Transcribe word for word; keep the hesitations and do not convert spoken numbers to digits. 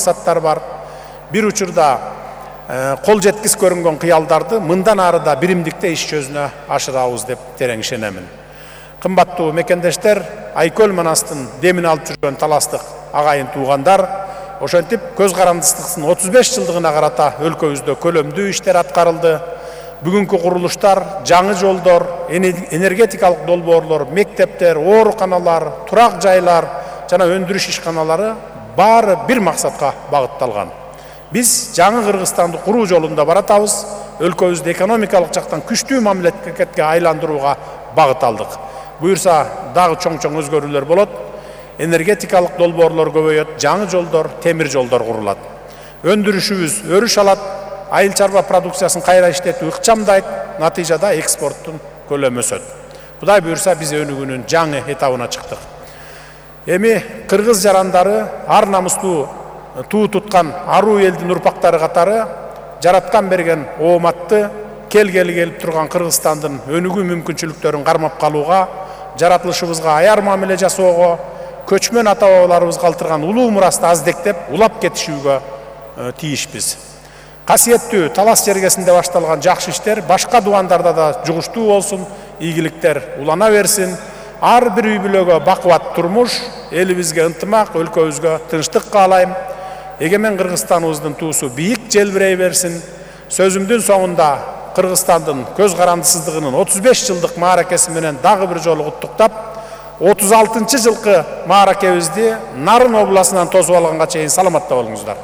максаттар бар. Бир учурда кол жеткис көрүнгөн кыялдарды мындан ары да биримдикте иш жүзүнө ашырабыз деп терең ишенемин. Кымбаттуу мекендештер, Айкөл Манастын демин алып жүргөн таластык агайын туугандар, ошентип көз карандысыздыктын отуз беш жылдыгына карата өлкөбүздө көлөмдүү иштер аткарылды. Бүгүнкү курулуштар, жаңы жолдор, энергетикалык долбоорлор, мектептер, ооруканалар, турак жайлар жана өндүрүш ишканалары баары бир максатка багытталган. Биз жаңы Кыргызстанды куруу жолунда баратабыз, өлкөбүздү экономикалык жактан күчтүү мамлекетке айландырууга багыт алдык. Буюрса дагы чоң-чоң өзгөрүүлөр болот. Энергетикалык долбоорлор көбөйөт, жаңы жолдор, темир жолдор курулат. Өндүрүшүбүз өрүш алат, айыл чарба продукциясын кайра иштетүү ыкчамдайт, натыйжада экспорттун көлөмү өсөт. Кудай буюрса биз өнүгүүнүн жаңы этабына чыктык. Эми кыргыз жарандары ар намустуу туу туткан аруу элдин урпактары катары жараткан берген ооматты келгели келип турган Кыргызстандын өнүгүү мүмкүнчүлүктөрүн кармап калууга, жаратылышыбызга аяр мамиле жасоого, көчмөн ата бабаларыбыз калтырган улуу мурасты аздектеп, улап кетишүүгө тийишпиз. Касиеттүү талас жергесинде башталган жакшы иштер башка дубандарда да жугуштуу болсун, ийгиликтер улана берсин. Ар бир үй бүлөгө бакубат турмуш, элибизге ынтымак, өлкөбүзгө тынчтык каалайм. Эгемен Кыргызстаныбыздын туусу бийик желбирей берсин. Сөзүмдүн соңунда Кыргызстандын көз карандысыздыгынын отуз беш жылдык мааракеси менен дагы бир жолу куттуктап, отуз алтынчы жылкы мааракебизди Нарын областынан тосуп алганга чейин саламатта болуңуздар.